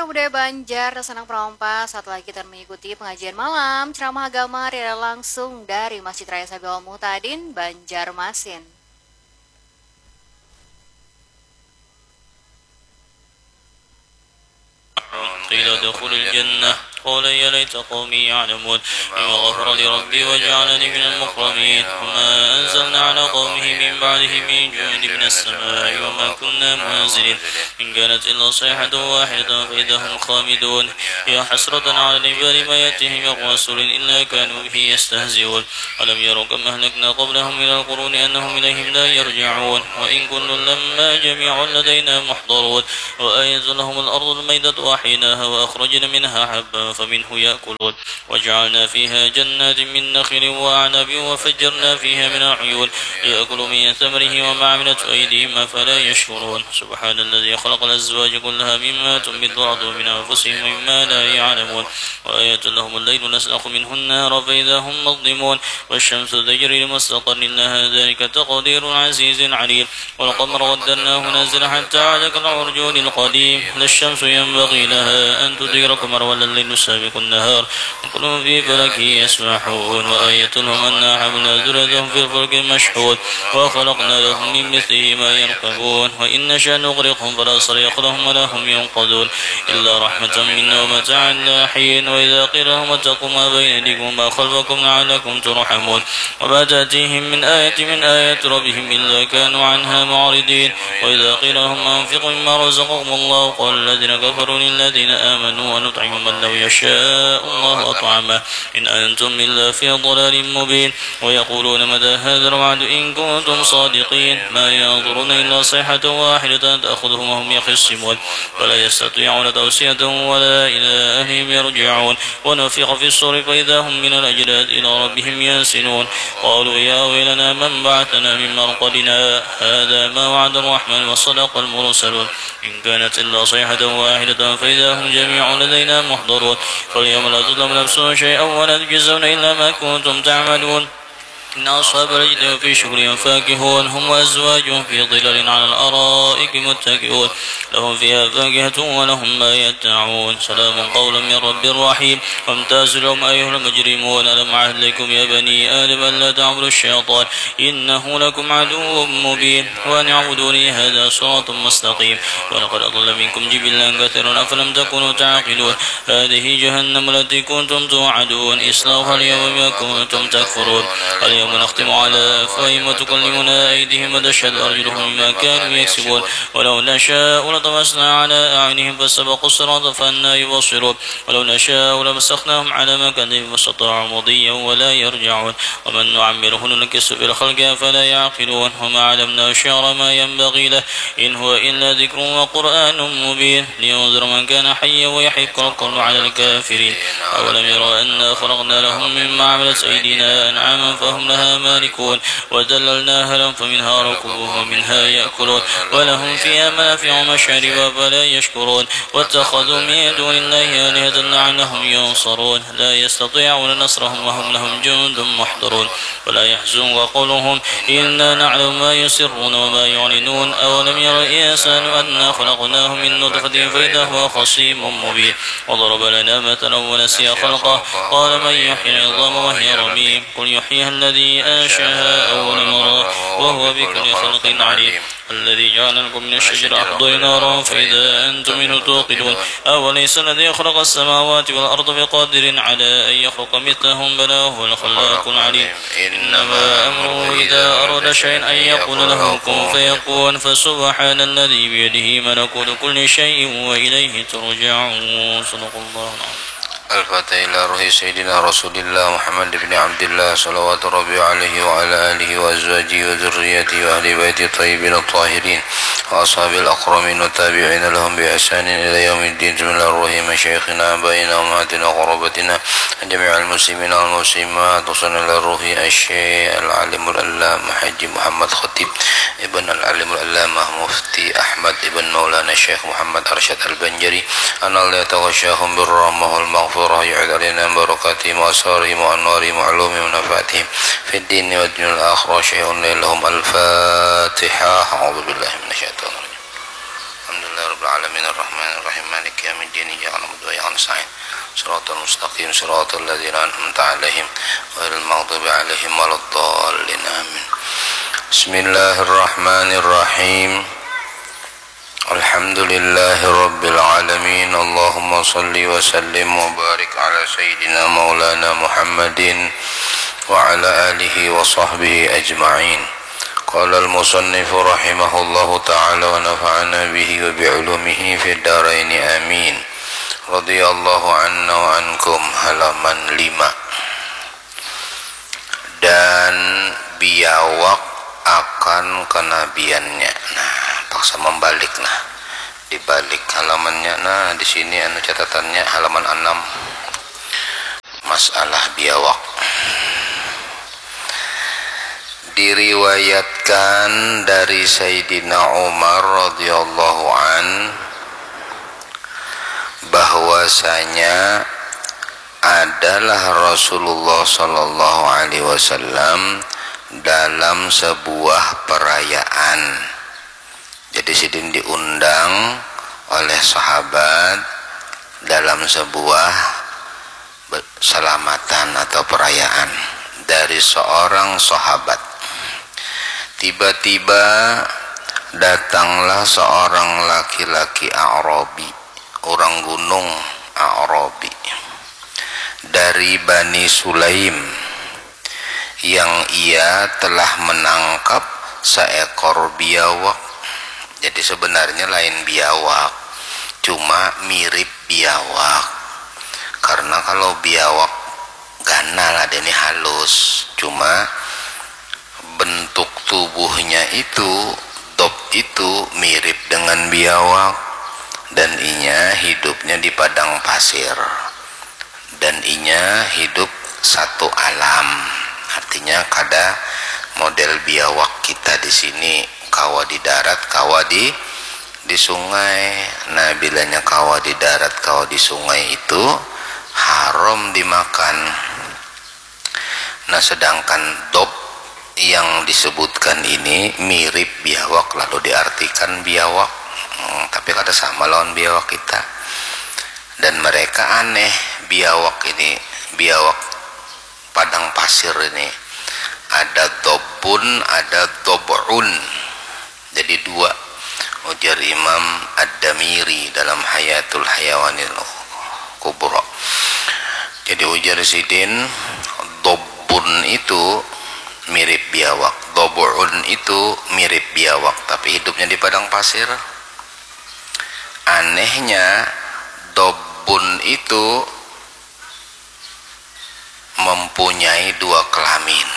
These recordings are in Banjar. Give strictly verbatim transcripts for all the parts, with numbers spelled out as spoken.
Budaya Banjar, Sanang Perampas, saat lagi kita mengikuti pengajian malam ceramah agama riwayat langsung dari Masjid Raya Sabil Muhtadin, Banjarmasin. قيل ادخل الجنة قال يا ليت قومي يعلمون بما غفر لي ربي وجعلني من المكرمين وما أنزلنا على قومه من بعده من جند من السماء وما كنا منزلين إن كانت إلا صيحة واحدة فإذا هم خامدون يا حسرة على العباد ما يأتيهم من رسول إلا كانوا به يستهزئون ألم يروا كم أهلكنا قبلهم من القرون أنهم إليهم لا يرجعون وإن كل لما جميع لدينا محضرون وآية لهم الأرض الميتة أحييناها وأخرجنا منها حبا فمنه يأكلون وجعلنا فيها جنات من نخيل وأعناب وفجرنا فيها من العيون ليأكلوا من ثمره وما عملته أيديهم أفلا يشكرون سبحان الذي خلق الأزواج كلها مما تنبت الأرض ومن أنفسهم ومما لا يعلمون وآية لهم الليل نسلخ منه النهار فإذا هم مظلمون والشمس تجري لمستقر لها ذلك تقدير العزيز العليم والقمر قدرناه منازل حتى عاد كالعرجون القديم لا الشمس ينبغي لها أن تدرك القمر ولا الليل سابق النهار وكل في فلك يسبحون وآية لهم أنا حملنا ذريتهم في الفلك المشحون وخلقنا لهم من مثله ما يركبون وإن نشأ نغرقهم فلا صريخ لهم ولا هم ينقذون إلا رحمة منا ومتاعا إلى حين وإذا قيل لهم اتقوا ما بين أيديكم وما خلفكم لعلكم ترحمون وما تأتيهم من آية من آيات ربهم إلا كانوا عنها معرضين وإذا قيل لهم أنفقوا مما رزقكم الله قال الذين كفروا للذين آمنوا أنطعم من لو يشاء الله أطعمه إن أنتم إلا في ضلال مبين ويقولون متى هذا الوعد إن كنتم صادقين ما ينظرون إلا صيحة واحدة تأخذهم وهم يخصمون فلا يستطيعون توصية ولا إلى أهلهم يرجعون ونفخ في الصور فإذا هم من الأجداث إلى ربهم ينسلون قالوا يا ويلنا من بعثنا من مرقدنا هذا ما وعد الرحمن وصدق المرسلون إن كانت إلا صيحة واحدة فإذا هم جميع لدينا محضرون فاليوم لا تظلم نفس شيئا ولا تجزون إلا ما كنتم تعملون إن أصحاب الجنة في شغل فاكهون هم وأزواجهم في ظلال على الأرائك متكئون لهم فيها فاكهة ولهم ما يدعون سلام قولا من رب رحيم وامتازوا اليوم أيها المجرمون ألم أعهد إليكم يا بني آدم ألا تعبدوا الشيطان إنه لكم عدو مبين وأن اعبدوني هذا صراط مستقيم ولقد أضل منكم جبلا كثيرا أفلم تكونوا تعقلون هذه جهنم التي كنتم توعدون اصلوها اليوم بما كنتم تكفرون اليوم نختم على أفواههم وتكلمنا أيديهم وتشهد أرجلهم بما كانوا يكسبون ولو نشاء لطمسنا على أعينهم فاستبقوا الصراط فأنى يبصرون ولو نشاء لمسخناهم على مكانهم فاستطاعوا مضيا ولا يرجعون ومن نعمره ننكسه في الخلق أفلا يعقلون وما علمناه الشعر ما ينبغي له إن هو إلا ذكر وقرآن مبين لينذر من كان حيا ويحق القول على الكافرين أولم يروا أنا خلقنا لهم مما عملت أيدينا أنعاما فهم لها مالكون وذللناها لهم فمنها ركوبهم ومنها يأكلون ولهم فيها منافع ومشارب أفلا يشكرون واتخذوا من دون الله آلهة لعلهم ينصرون لا يستطيعون نصرهم وهم لهم جند محضرون ولا يحزنك قولهم إنا نعلم ما يسرون وما يعلنون أولم ير الإنسان أنا خلقناه من نطفة فإذا هو خصيم مبين وضرب لنا مثلا ونسي خلقه قال من يحيي العظام وهي رميم قل يحييها الذي أنشأها أول مرة وهو بكل خلق عليم الذي جعل لكم من الشجر الأخضر نارا فإذا أنتم منه توقدون أوليس الذي خلق السماوات والأرض بقادر على أن يخلق مثلهم بلى وهو الخلاق العليم إنما أمره إذا أراد شيئا أن يقول له كن فيكون فسبحان الذي بيده ملكوت كل شيء وإليه ترجعون صدق الله العظيم الفاتحة إلى روح سيدنا رسول الله محمد بن عبد الله صلوات ربي عليه وعلى آله وأزواجه وذريته وأهل بيته الطيبين الطاهرين وأصحابه الأكرمين والتابعين لهم بإحسان إلى يوم الدين بسم الله الرحيم مشايخنا أبائنا أمهاتنا وقرابتنا جميع المسلمين والمسلمات وصلنا إلى روح الشيخ العالم العلامة حاج محمد خطيب ابن العالم العلامة مفتي أحمد ابن مولانا الشيخ محمد أرشد البنجري أن الله يتغشاهم بالرحمة والمغفرة يعيد علينا من بركاتهم وأسرارهم وأنوارهم وعلومهم ونفعتهم في الدين والدنيا والآخرة شيء لهم الفاتحة أعوذ بالله من الشيطان الرجيم الحمد لله العالمين الرحمن الرحيم مالك يوم الدين إياك نعبد وإياك نستعين صراط المستقيم صراط الذين أنعمت عليهم غير المغضوب عليهم ولا الضالين آمين. بسم الله الرحمن الرحيم. الحمد لله رب العالمين. اللهم صل وسلم وبارك على سيدنا مولانا محمد وعلى آله وصحبه أجمعين. قال المصنف رحمه الله تعالى ونفعنا به وبعلومه في الدارين آمين. رضي الله عنا وعنكم. Halaman lima. Dan biawak akan kenabiannya. Nah, paksa membalik, nah. Dibalik halamannya. Nah, di sini anu catatannya halaman enam. Masalah biawak. Diriwayatkan dari Sayyidina Umar radhiyallahu an bahwasanya adalah Rasulullah sallallahu alaihi wasallam dalam sebuah perayaan. Jadi sidin diundang oleh sahabat dalam sebuah be-, selamatan atau perayaan dari seorang sahabat. Tiba-tiba datanglah seorang laki-laki Arabi, orang gunung Arabi, dari Bani Sulaim, yang ia telah menangkap seekor biawak. Jadi sebenarnya lain biawak, cuma mirip biawak. Karena kalau biawak ganal, ada ini halus, cuma bentuk tubuhnya itu, dob itu mirip dengan biawak, dan inya hidupnya di padang pasir, dan inya hidup satu alam. Artinya kada model biawak kita di sini, kawa di darat, kawa di di sungai. Nah, bilanya kawa di darat, kawa di sungai itu haram dimakan. Nah, sedangkan dob yang disebutkan ini mirip biawak, lalu diartikan biawak. Hmm, tapi kada sama lawan biawak kita. Dan mereka aneh, biawak ini, biawak padang pasir ini. Ada dobun, ada dob'un. Jadi dua, ujar Imam Ad-Damiri dalam Hayatul Hayawanil Kubra. Jadi ujar sidin, dobun itu mirip biawak, dobun itu mirip biawak, tapi hidupnya di padang pasir. Anehnya, dobun itu mempunyai dua kelamin.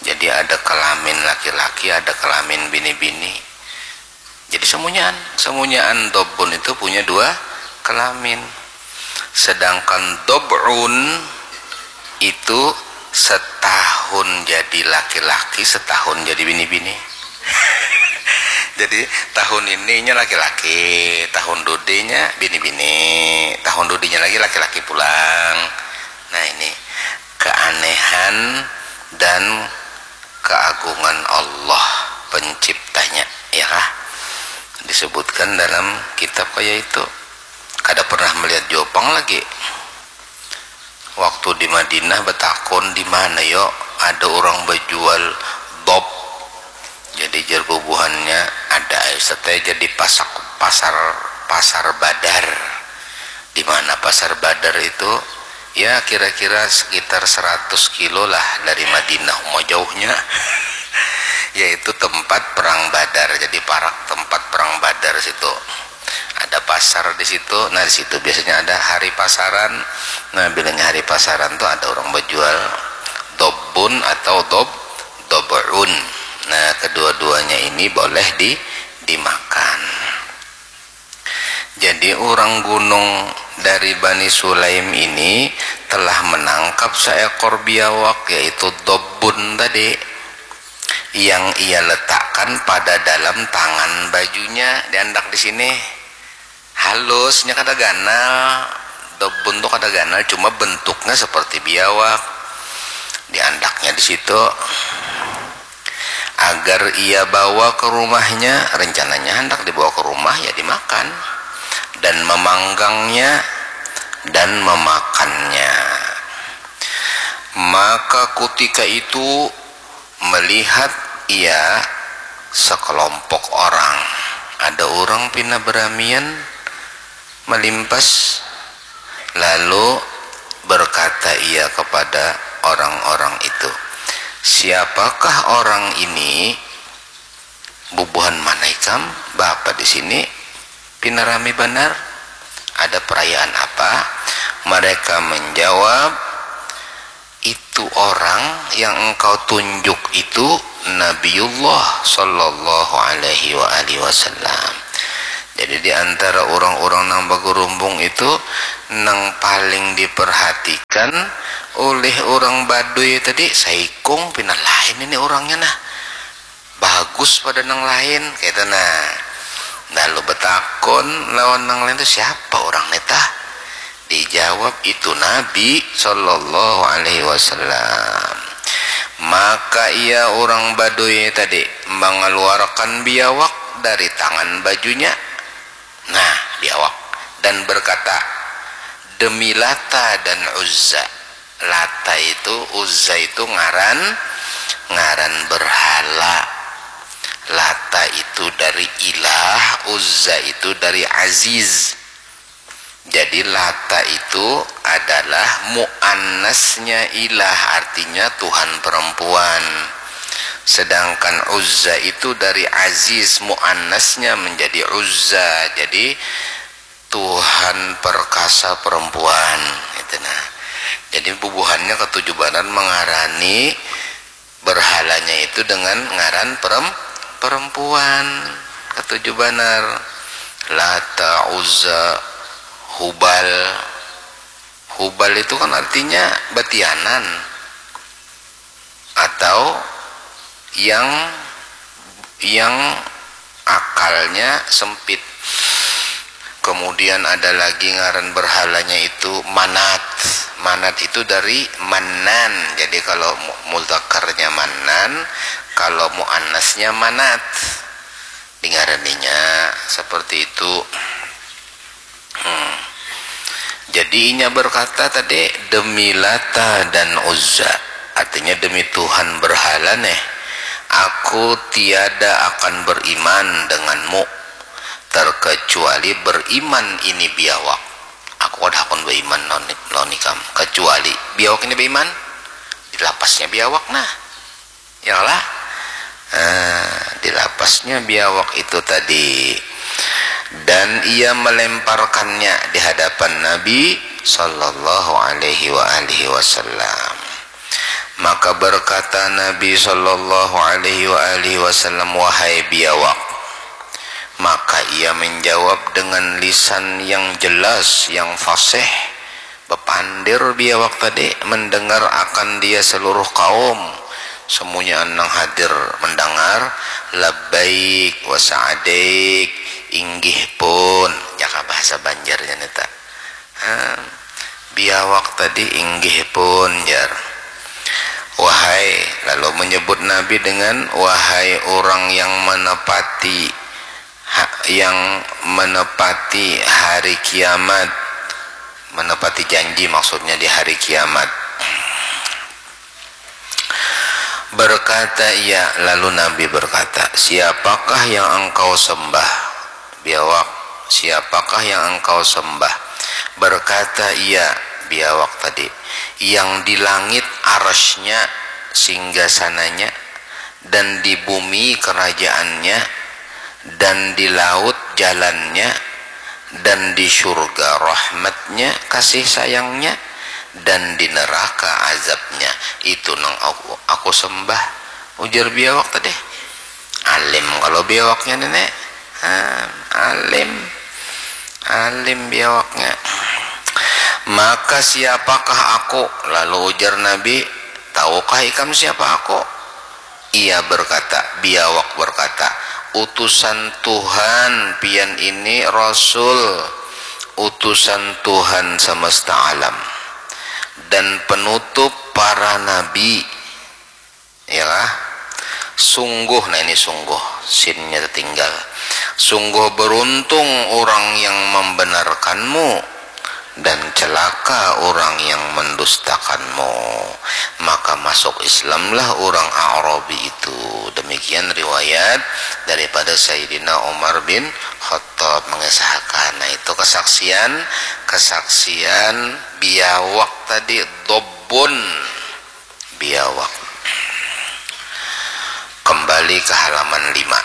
Jadi ada kelamin laki-laki, ada kelamin bini-bini. Jadi semunyaan, semunyaan dobun itu punya dua kelamin. Sedangkan dob'un itu setahun jadi laki-laki, setahun jadi bini-bini. Jadi tahun ininya laki-laki, tahun dudinya bini-bini, tahun dudinya lagi laki-laki pulang. Nah, ini keanehan dan keagungan Allah penciptanya, ya kah? Disebutkan dalam kitab kaya itu. Kada pernah melihat jua pang lagi. Waktu di Madinah betakun, "Di mana yo ada orang bejual dob?" Jadi jar bubuhannya, "Ada ai, Ustaz, jadi pasak, pasar, pasar Badar." Di mana pasar Badar itu? Ya, kira-kira sekitar seratus kilo lah dari Madinah, uma jauhnya. Yaitu tempat perang Badar, jadi parak tempat perang Badar situ. Ada pasar di situ. Nah, di situ biasanya ada hari pasaran. Nah, bilanya hari pasaran tuh ada orang bejual dobun atau dob, dobun. Nah, kedua-duanya ini boleh di, dimakan. Jadi, orang gunung dari Bani Sulaim ini telah menangkap seekor biawak, yaitu dobun tadi, yang ia letakkan pada dalam tangan bajunya. Diandak di sini. Halusnya kada ganal. Dobun tuh kada ganal, cuma bentuknya seperti biawak. Diandaknya di situ. agar ia bawa ke rumahnya, rencananya hendak dibawa ke rumah ya dimakan, dan memanggangnya dan memakannya. Maka kutika itu melihat ia sekelompok orang, ada orang pina beramian melimpas, lalu berkata ia kepada orang-orang itu, "Siapakah orang ini? Bubuhan mana ikam? Bapa di sini pina rami banar. Ada perayaan apa?" Mereka menjawab, "Itu orang yang engkau tunjuk itu Nabiullah sallallahu alaihi wa alihi wasallam." Jadi di antara orang-orang nang bagerumbung itu, nang paling diperhatikan oleh orang Baduy tadi, saikung pina lain ini orangnya nah. Bagus pada nang lain, kaitu nah. Lalu betakun lawan nang lain tu, "Siapa orang ni tah?" Dijawab, "Itu Nabi sallallahu alaihi wasallam." Maka ia orang Baduy tadi mengeluarkan biawak dari tangan bajunya. Nah, biawak. Dan berkata, "Demi Lata dan Uzza." Lata itu, Uzza itu ngaran, ngaran berhala. Lata itu dari ilah, Uzza itu dari aziz. Jadi Lata itu adalah muannasnya ilah, artinya Tuhan perempuan. Sedangkan Uzza itu dari aziz, muannasnya menjadi Uzza. Jadi Tuhan perkasa perempuan, gitu nah. Jadi bubuhannya ketujuh banar mengarani berhalanya itu dengan ngaran perem-, perempuan, ketujuh banar. Lata, Uzza, Hubal. Hubal itu kan artinya batianan atau yang, yang akalnya sempit. Kemudian ada lagi ngaran berhalanya itu Manat. Manat itu dari Manan. Jadi kalau mu-, muzakarnya Manan, kalau muannasnya Manat. Dingaraninya seperti itu. Hmm. Jadi inya berkata tadi, "Demi Lata dan Uzza," artinya demi Tuhan berhala neh, "aku tiada akan beriman denganmu terkecuali beriman ini biawak. Aku kada hakun beriman lawan, lawan ikam kecuali biawak ini beriman." Dilapasnya biawak nah. Ya lah. Nah, dilapasnya biawak itu tadi. Dan ia melemparkannya di hadapan Nabi sallallahu alaihi wa alihi wasallam. Maka berkata Nabi sallallahu alaihi wa alihi wasallam, "Wahai biawak." Maka ia menjawab dengan lisan yang jelas, yang fasih, bepandir biawak tadi, mendengar akan dia seluruh kaum. Semuanya nang hadir mendengar, "Labbaik wa sa'daik," inggih pun, jaka bahasa Banjarnya nita. Ha, biawak tadi, "Inggih pun," jar. Wahai, lalu menyebut Nabi dengan, "Wahai orang yang menepati, ha-, yang menepati hari kiamat," menepati janji maksudnya di hari kiamat. Berkata ia, lalu Nabi berkata, "Siapakah yang engkau sembah?" Biawak, "Siapakah yang engkau sembah?" Berkata ia, biawak tadi, "Yang di langit arasnya, singgasananya, dan di bumi kerajaannya, dan di laut jalannya, dan di surga rahmatnya, kasih sayangnya, dan di neraka azabnya. Itu nang aku, aku sembah," ujar biawak tadi. Alim kalau biawaknya, Nenek. Ha, alim. Alim biawaknya. "Maka siapakah aku?" Lalu ujar Nabi, "Tahukah ikam siapa aku?" Ia berkata, biawak berkata, "Utusan Tuhan, pian ini Rasul, utusan Tuhan semesta alam, dan penutup para nabi." Ya kah? Sungguh, nah ini sungguh, sinnya tertinggal. Sungguh beruntung orang yang membenarkanmu, dan celaka orang yang mendustakanmu. Maka masuk Islamlah orang Arabi itu. Demikian riwayat daripada Sayyidina Umar bin Khattab mengisahkan. Nah, itu kesaksian, kesaksian biawak tadi, dobbun. Biawak. Kembali ke halaman lima.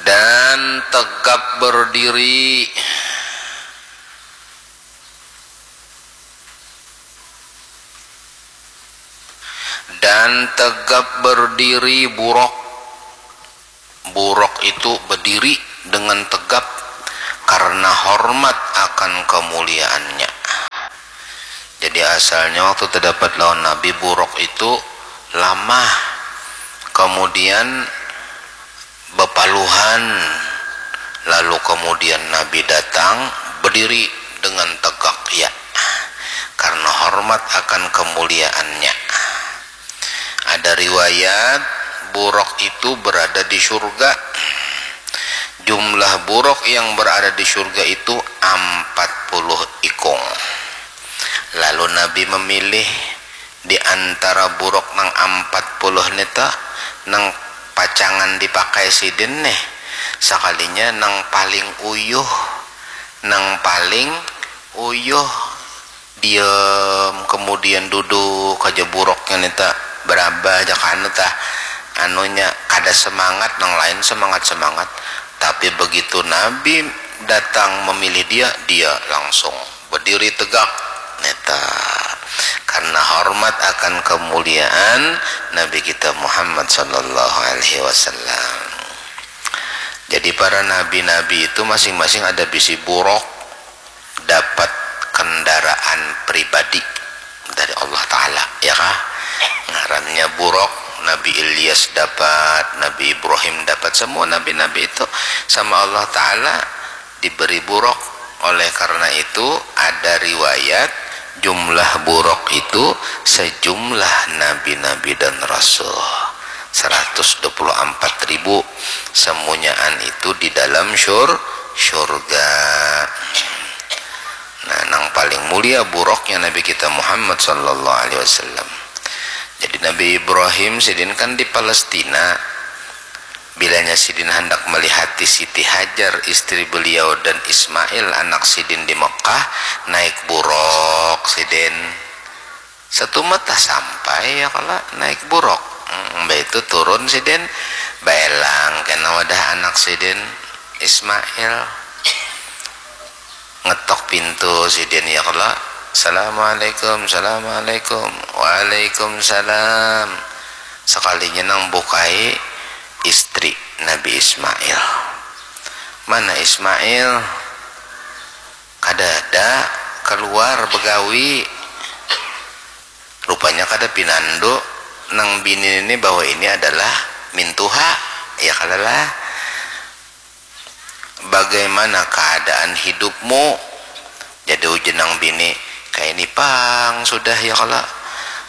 Dan tegap berdiri. Dan tegap berdiri burok. Burok itu berdiri dengan tegap karena hormat akan kemuliaannya. Jadi asalnya waktu terdapat lawan Nabi, burok itu lamah, kemudian bepaluhan, lalu kemudian Nabi datang berdiri dengan tegak, ya, karena hormat akan kemuliaannya. Ada riwayat burok itu berada di surga. Jumlah burok yang berada di surga itu empat puluh ikung. Lalu Nabi memilih di antara burok nang empat puluh nita, nang pacangan dipakai sidin nih, sakalinya nang paling uyuh, nang paling uyuh. Diam, kemudian duduk aja buroknya nita, berabah aja kanu tah, anunya kada semangat, nang lain semangat-semangat, tapi begitu Nabi datang memilih dia, dia langsung berdiri tegak nita, karena hormat akan kemuliaan Nabi kita Muhammad sallallahu alaihi wasallam. Jadi para nabi-nabi itu masing-masing ada bisi burok, dapat kendaraan pribadi dari Allah Ta'ala, ya kah? Ngarannya burok. Nabi Ilyas dapat, Nabi Ibrahim dapat, semua nabi-nabi itu sama Allah Ta'ala diberi burok. Oleh karena itu, ada riwayat jumlah burok itu sejumlah nabi-nabi dan rasul, seratus dua puluh empat ribu. Semunyaan itu di dalam syur surga. Nah, nang paling mulia buroknya Nabi kita Muhammad sallallahu alaihi wasallam. Jadi Nabi Ibrahim sidin kan di Palestina. Bilanya sidin handak melihati Siti Hajar, istri beliau, dan Ismail, anak sidin, di Mekah, naik burok sidin. Satu mata sampai ya kala naik burok. Hmm, mbah itu turun sidin, baelang kena wadah anak sidin, Ismail. Ngetok pintu sidin ya kala, "Assalamualaikum, assalamualaikum." "Waalaikumsalam." Sekalinya nang bukai, istri Nabi Ismail. "Mana Ismail?" "Kadada, keluar begawi." Rupanya kada pinandu, nang bini ini bahwa ini adalah mintuha, ya kadalah. "Bagaimana keadaan hidupmu?" Jadi ujar nang bini, "Kaini pang sudah ya kala.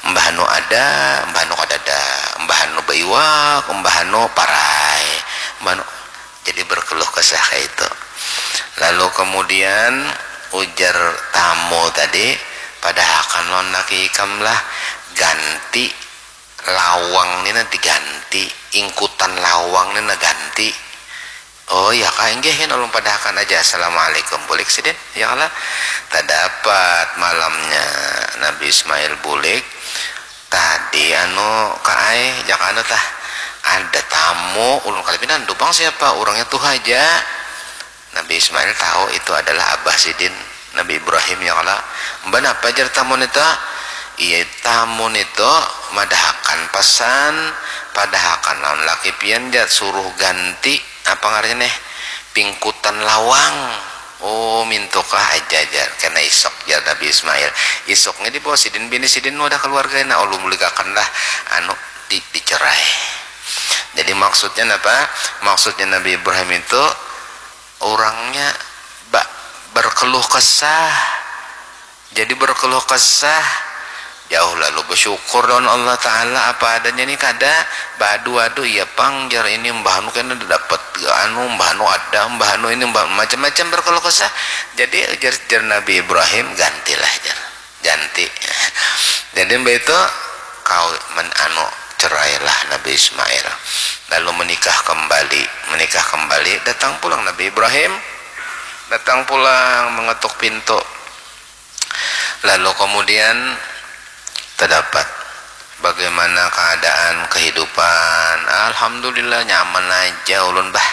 Mbah anu ada, mbah anu kadada, mbah anu baiwak, mbah anu parai, mbah anu." Jadi berkeluh kesah kayak itu. Lalu kemudian ujar tamu tadi, "Padahakan lawan laki ikam lah, ganti lawang ni nah diganti, ingkutan lawang ni nah ganti." "Oh ya kah, inggih, ulun padahakan aja. Assalamualaikum." Bulik sidin, ya kala. Tadapat malamnya Nabi Ismail bulik. "Tadi anu ka ai, jak anu tah, ada tamu, ulun kada pinandu pang siapa, urangnya tuha ja." Nabi Ismail tahu itu adalah abah sidin, Nabi Ibrahim, ya kala. "Mba napa?" jar tamu nito. "Iya, tamu nito madahakan pasan, padahakan lawan laki pian," jar, "suruh ganti," apa ngarannya nih, "pingkutan lawang." "Oh, mintukah aja," jar. "Kena isuk," jar Nabi Ismail. Isuknya dibawa sidin bini sidin wadah keluarga, nah, ulun buligakan lah, anu, di, dicerai. Jadi maksudnya apa? Maksudnya Nabi Ibrahim itu orangnya ba-, berkeluh kesah. Jadi berkeluh kesah, Jauh lalu bersyukur lawan Allah Ta'ala, apa adanya ni kada, badu-adu iya pang jar ini, mbah anu kena dapat anu, mbah anu ada, mbah anu ini, mbah macam-macam berkeluh kesah. Jadi jar, jar Nabi Ibrahim, gantilah jar, ganti. Jadi mbah itu kau men anu cerailah Nabi Ismail, lalu menikah kembali, menikah kembali, datang pulang Nabi Ibrahim, datang pulang mengetuk pintu. Lalu kemudian terdapat bagaimana keadaan kehidupan. Alhamdulillah nyaman aja ulun bah,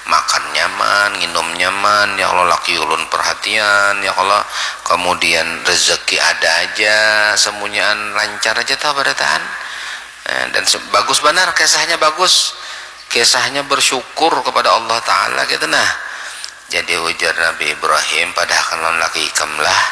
makan nyaman, nginum nyaman, ya Allah laki ulun perhatian, ya Allah, kemudian rezeki ada aja, semunyaan lancar aja tah barataan. Eh, dan bagus banar, kisahnya bagus, kisahnya bersyukur kepada Allah Ta'ala gitu nah. Jadi ujar Nabi Ibrahim, padahakan lawan laki ikam lah,